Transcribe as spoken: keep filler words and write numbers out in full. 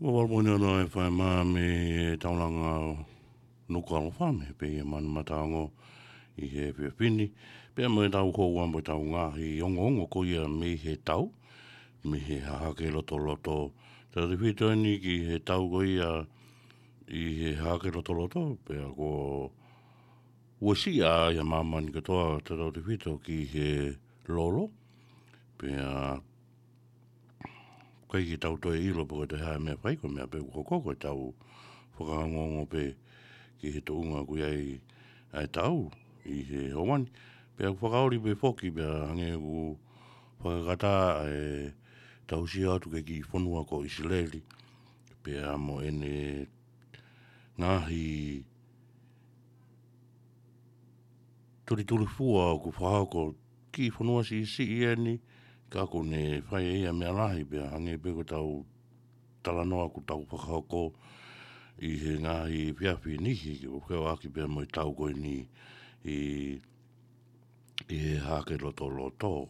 Ua valu poini ono F M mei he taulanga Nukuʻalofa, mei he pē ia Manumataongo ʻi he efiafi ni. Pea mo e tau houa mo e tau ngaahi ongoongo ko ia mei he tau, mei he Hahake Lotoloto. Tautautefito eni ki he tau ko ia ʻi he Hahake Lotoloto, pea kuo uesia ia māmani kotoa tautautefito ki he lolo. Pea ʻikai ke tau toe ʻilo pe ko e toe hā e meʻa fai, ko e meʻa pē ʻoku hoko ko e tau fakaongoongo pē ki he tuʻunga ʻoku ʻi ai ʻa e tau ʻi he houa ni. Pea ʻoku fakaoli pē foki pea hangē ʻoku fakakata ʻa e tausia atu ki he kiʻi fonua ko ʻIsileli. Pea mo ʻene ngaahi tulitulifua ʻoku fakahoko ki he fonua siʻisiʻi eni, ka ʻoku ne fai ʻe ia meʻa lahi pea hangē pē ko e tau talanoa ʻoku tau fakahoko ʻi he ngaahi efiafi nihi ke feoʻaki pea mo e tau ko eni ʻi, ʻi he Hahake Lotoloto.